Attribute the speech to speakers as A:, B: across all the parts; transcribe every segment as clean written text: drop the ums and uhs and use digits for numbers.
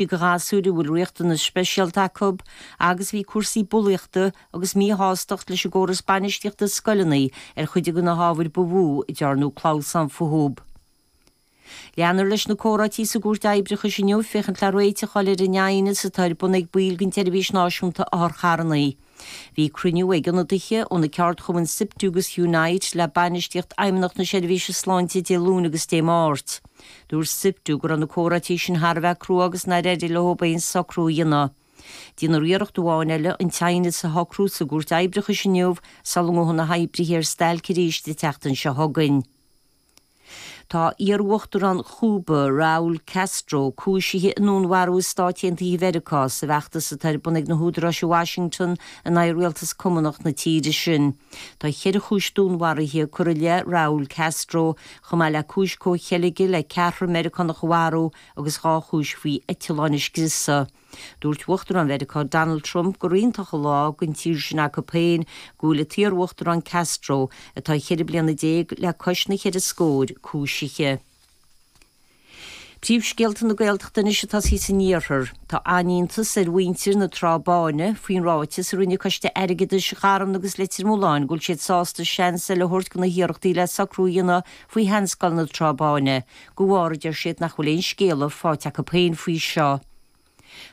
A: Do ghasúir a bhfuil riachtanais speisialta acu agus bhí cúrsaí bulaíochta agus míshástacht leis an gcóras bainistíochta scoileanna ar chuid de na hábhair ba mhó a ndearnadh clamhsán fúthu. Leanfar leis na comhráití sa gCúirt Oibreachais inniu féachaint le réiteach a fháil ar an aighneas atá ar bun ag baill den tSeirbhís Náisiúnta Otharcharranna. Bhí cruinniú ag ionadaithe ó na ceardchumainn Siptu agus Unite le bainistíocht Fheidhmeannacht na Seirbhíse Sláinte Dé Luain agus Dé Máirt. Dúirt Siptu go raibh na comhráití sin thar a bheith crua agus nár éirigh leo aon socrú a dhéanamh. Déanfar iarracht amháin eile an t-aighneas a shocrú sa gCúirt Oibreachais inniu sula ngabhfaidh na hoibrithe ar stailc arís an tseachtain seo chugainn. Tá iar-uachtarán Chúba, Raúl Castro, cúisithe i ndúnmharú i Stáit Aontaithe Mheiriceá sa bhfeachtas atá ar bun ag na húdaráis i Washington in aghaidh rialtas cumannach na tíre sin. Tá cheithre chúis dúnmharaithe curtha i leith Raúl Castro, chomh maith le cúis comhcheilge le ceathrar Meiriceánach a mharú agus 2 chúis faoi eitleáin a scriosadh. Dúirt Uachtarán Mheiriceá Donald Trump gur iontach an lá don tír sin acu féin go bhfuil an t-iar-uachtarán Castro, atá 14 bliana le cois na cheithre scóir, cúisithe. Príomhscéalta na Gaeltachta anois ag tosaí san iarthar. Tá an-iontas ar mhuintir na Trá Báine faoin ráiteas a rinne Coiste Airgeadais Gharmna agus Leitir Mealláin go bhfuil siad sásta seans eile a thabhairt do na hiarrachtaí le socrú a dhéanamh faoi sheanscoil na Trá Báine, de bharr, a deir siad, nach bhfuil aon scéala faighte acu féin faoi seo.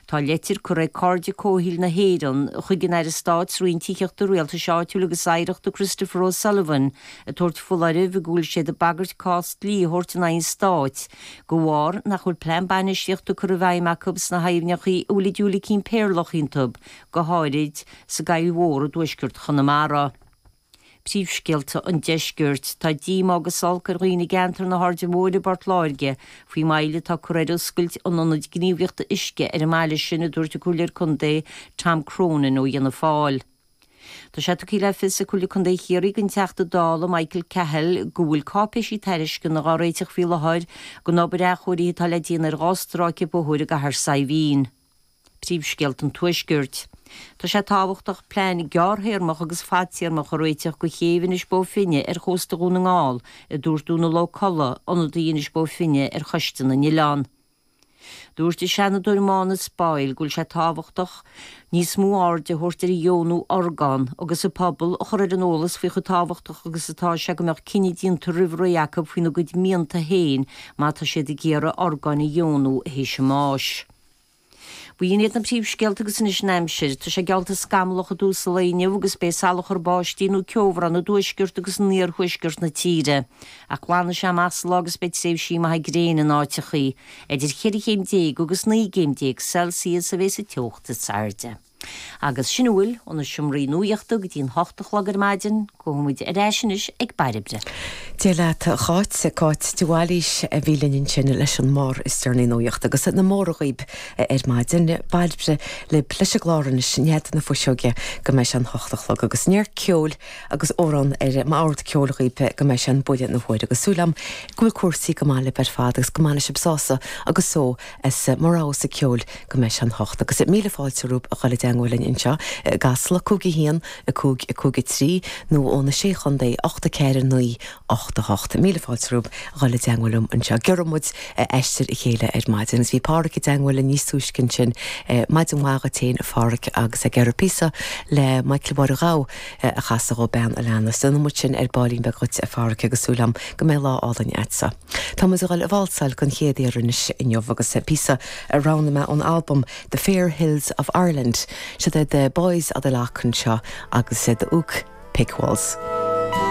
A: Tá leitir curtha ag Cairde Comhshaoil na hÉireann chuig an Aire Stáit sa Roinn Tithíochta, Rialtais Áitiúil agus Oidhreachta Christopher O'Sullivan ag tabhairt foláirimh go bhfuil siad ag bagairt cás dlí a thabhairt in aghaidh an Stáit de bharr nach bhfuil plean bainistíochta curtha i bhfeidhm acu sna haibhneacha a bhfuil an diúilicín péarlach iontu, go háirid sa gCoill Mhór i dtuaisceart Chonamara. Príomhscéalta an Deiscirt. Tá díomá agus olc ar dhaoine i gceantar na hAirde Móire i bPort Láirge faoin moill atá curtha ar oscailt an Ionaid Gníomhaíochta Uisce ar an mbaile sin, a dúirt an Comhairleoir Contae Tom Cronin ó Fhianna Fáil. Tá sé tugtha le fios ag Comhairle Contae Chiarraí don Teachta Dála Michael Cahill go bhfuil cáipéisí tairisceana á réiteach faoi láthair don obair athchóirithe atá le déanamh ar 2 stráice bóthair i gCathair Saidhbhín. Príomhscéalta an Tuaiscirt. Tá sé tábhachtach plean gearrthéarmach agus fadtéarmach a réiteach do chéibh Inis Bó Finne ar chósta Dhún na nGall, a dúirt Dónal Ó Colla, ionadaí Inis Bó Finne ar Choiste na nOileán. Dúirt an Seanadóir Manus Boyle go bhfuil sé tábhachtach níos mó airde a thabhairt ar dheonú orgán agus an pobal a chur ar an eolas faoi chomh tábhachtach agus atá sé go mbeadh cinneadh déanta roimh ré acu faoina gcuid mianta féin má tá siad ag iarraidh orgáin a dheonú théis a mbáis. B'in iad na príomhscéalta agus anois an aimsir. Tá sé geallta scamallach i dtús an lae inniu agus beidh salachar báistí nó ceobhrán i dtuaisceart agus in iarthuaisceart na tíre. Ach glanfaidh sé amach sa lá agus beidh tréimhsí maithe gréine in áiteachaí. Idir cheithre chéim déag agus 19 gcéim Celsius a bheas an teocht is airde. Agus sin a bhfuil ó na seomraí nuachta go dtí an hocht a chlog ar maidin. Gabhfaidh muid ar ais anois ag Bairbre.
B: Dia leat a Cháit, Cáit de Bhailís a bhí linn ansin leis an mbarr is deireanaí nuachta agus na móra dhaoib ar maidin. Bairbre libh leis an gclár anois, Nead na Fuiseoige, go mbeidh sé an hocht a chlog agus neart ceoil agus amhrán ar m'ord ceoil dhaoib go mbeidh sé an buille na huaire agus súil agam go bhfuil cúrsaí go maith libh ar fad agus go mbainfidh sibh sásamh agus só as mo rogha-sa ceoil go mbeidh sé an hocht. Agus míle fáilte romhaibh a dhul i dteangmháil linn anseo i gCasla, 5 1 5 5 3, nó ó na Sé Chontae, 8 4 9 8 8. Míle fáilte romhaibh a dhul i dteangmháil liom anseo. Gheobhaidh muid aistear a chéile ar maidin. Agus bhí Páraic i dteangmháil linn níos túisce ansin. Maidin mhaith dhuit féin, a Pháraic, agus ag iarraidh píosa le Michael Mháire Ghabha a chasadh dhó, Bean a Leanas. Déanfaidh muid sin ar baillín beag dhuit, a Pháraic, agus súil agam go mbeidh lá álainn a'dsa. Tá muid ag dul a válsáil don chéad iarraidh anois inniu agus píosa a roghnaigh mé ón albam The Fair Hills of Ireland. Siod é The Boys of the Lough anseo agus The Ook Pick Waltz.